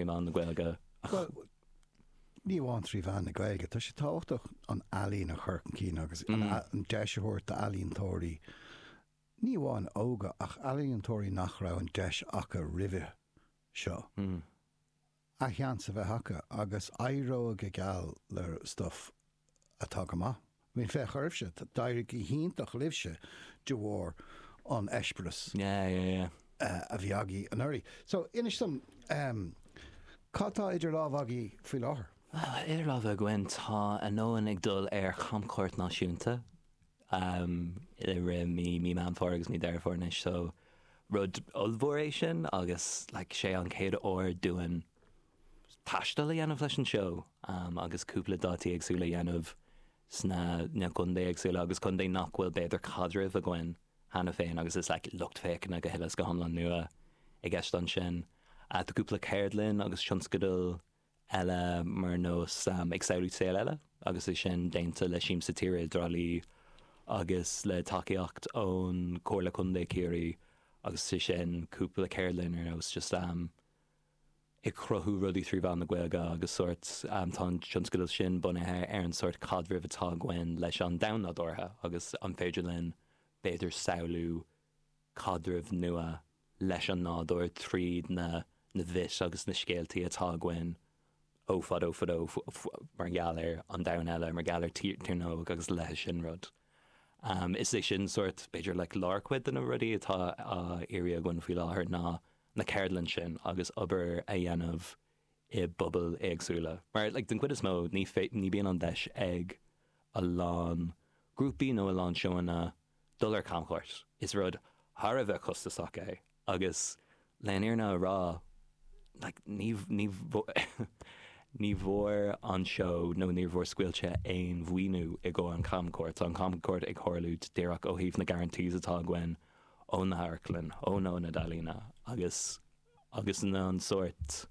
mheán na Gaeilge ach. Bhuel, ní amháin trí mheán na Gaeilge, tá sé tábhachtach an ealaín a chur chun cinn agus an deis a thabhairt d'ealaíontóirí, ní amháin óga, ach ealaíontóirí nach raibh an deis acu roimhe seo, a sheans a bheith acu agus éireoidh go geal le stuff atá go maith. I mean, féach oraibhse, d'éirigh go hiontach libhse de bharr an eispéireas a bhí agaibh anuraidh. So, inis dom, cad tá idir lámha agaibh faoi láthair? Bhuel, idir lámha againn tá Anonn ag dul ar chamchuairt náisiúnta i rith mí mí Meán Fómhair agus mí Deireadh Fómhair anois, so rud ollmhór é sin agus like sé an chéad uair dúinn taisteal a dhéanamh leis an seó agus cúpla dátaí éagsúla a dhéanamh sna na contae éagsúla agus contae nach bhfuil b'fhéidir caidreamh againn cheana féin agus is like lucht féachana go huile is go hiomlán nua i gceist ansin. Tá cúpla ceardlann agus tionscadal eile mar nós Ag Samhlú Saol Eile agus é sin déanta le Siamsa Tíre i dTrá Lí agus le tacaíocht ón Comhairle Contae Ciarraí agus é sin cúpla ceardlann ar nós just ag cruthú rudaí trí mheán na Gaeilge agus sórt, tá an tionscadal sin bunaithe ar an sórt caidrimh atá againn leis an domhan nádúrtha agus an féidir linn b'fhéidir samhlú caidreamh nua leis an nádúr tríd na na bhfis agus na scéaltaí atá againn ó fadó fadó mar gheall ar an domhan eile, mar gheall ar Tír na nÓg agus a leithéid sin rud. Is é sin sórt b'fhéidir like lárchuid de na rudaí atá á iarraidh againn faoi láthair ná na ceardlann sin agus obair a dhéanamh i bpobail éagsúla. Mar like den chuid is mó ní ní bíonn an deis ag a lán grúpaí nó a lán seóanna dul ar camchuairt. Is rud thar a bheith costasach é agus le an fhírinne a rá like ní ní ní bhfuair an seó nó níor bhfuair Scaoilte aon mhaoiniú i gcomhair an camchuairt. Tá an camchuairt ag tharlú díreach ó thaobh na guarantees atá againn ó na hamharclann, ó na ionaid ealaíne agus agus an sórt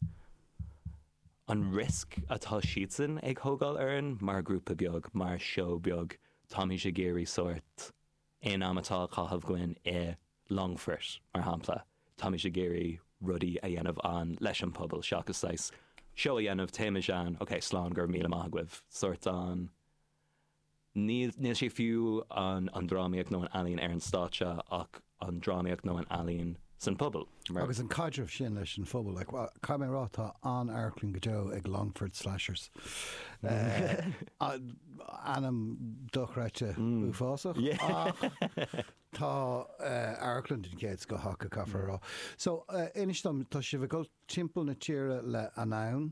an risk atá siadsan ag thógáil orainn mar ghrúpa beag, mar seó beag, táimid ag iarraidh sórt aon am atá á chaitheamh againn i Longfort, mar shampla, táimid ag iarraidh rudaí a dhéanamh ann leis an pobal seachas saghas seó a dhéanamh, téimid ann, ok, slán, go raibh míle maith agaibh, sórt an. Níl, níl sé fiú an, an drámaíocht nó an ealaín ar an stáitse ach an drámaíocht nó an ealaín san pobal. Mar. Agus an caidreamh sin leis an phobal, like, well, caithfidh mé a rá, tá an-amharclann go deo ag Longford Slashers. Ainm dochreidte uafásach ach tá amharclann den chéad scoth acu, caithfear a rá. So, inis dom, tá sibh ag dul timpeall na tíre le Anonn.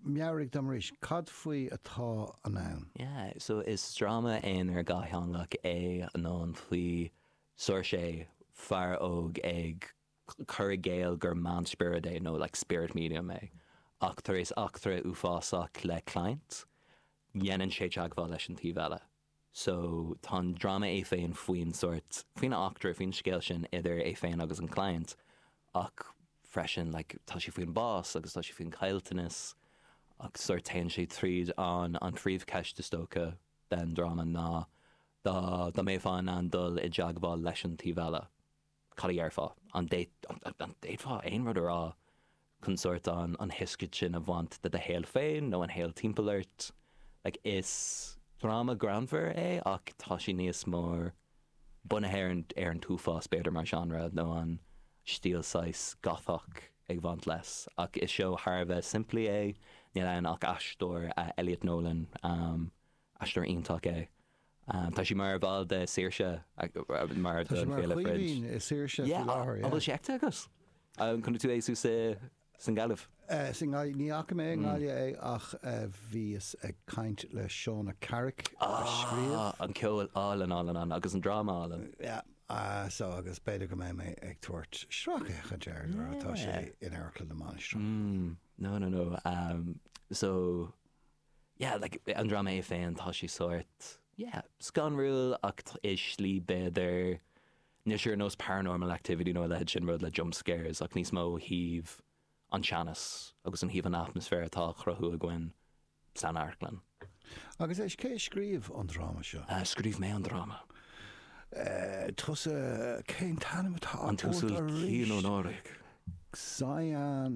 Meabhraigh dom arís, cad faoi atá Anonn? Yeah, so is dráma aonair dhátheangach é Anonn faoi Saoirse, fear óg ag cur i gcéill gur meánspiorad é nó like spirit medium é ach tar éis eachtra uafásach le client, dhéanann sé teagmháil leis an taobh eile. So, tá an dráma é féin faoin sórt, faoin eachtra, faoin scéal sin idir é féin agus an client ach freisin like tá sé faoin bás agus tá sé faoin caillteanas ach sórt téann sé tríd an an phríomhcheist is dócha den dráma ná dá dá mbeifeá in ann dul i dteagmháil leis an taobh eile. cad a dhéarfá? An bhféadfá aon rud a rá chun sórt an thuiscint sin a bhaint de do shaol féin nó an shaol timpeall ort? Like, is dráma greannmhar é ach tá sé níos mó bunaithe ar an ar an t-uafás b'fhéidir mar genre nó an stíl saghas Gothach ag bhaint leis. Ach is seó thar a bheith simplí é, níl ann ach aisteoir Elliot Nolan, aisteoir iontach é. Tá sé mar bhall de Saoirse mar Tá sé mar Féile Fringe. Chaoimhín i Saoirse faoi láthair, yeah. An bhfuil sé feicthe agat? An chonaic tú é suas i sa nGaillimh? Sa nGaillimh, ní fhaca mé i nGaillimh é ach bhíos ag caint le Shauna Carrick a scríobh. Ah, an ceol álainn, álainn, álainn agus an dráma álainn. Yeah, so agus b'fhéidir go mbeidh mé ag tabhairt sracfhéachaint air nuair atá sé in Amharclann na Mainistreach. No, no, no. So, yeah, like, an dráma é féin, tá sé sórt, yeah, scanrúil ach i slí b'fhéidir, níl sé ar nós Paranormal Activity nó a leithéid sin rud le jump scares ach níos mó ó thaobh an teannas agus an thaobh an atmaisféar atá á chruthú againn san amharclann. Agus éist, cé a scríobh an dráma seo? Scríobh mé an dráma. Tusa, cén t-ainm atá An ort tUasal arís? Cian Ó Náraigh. Cyan.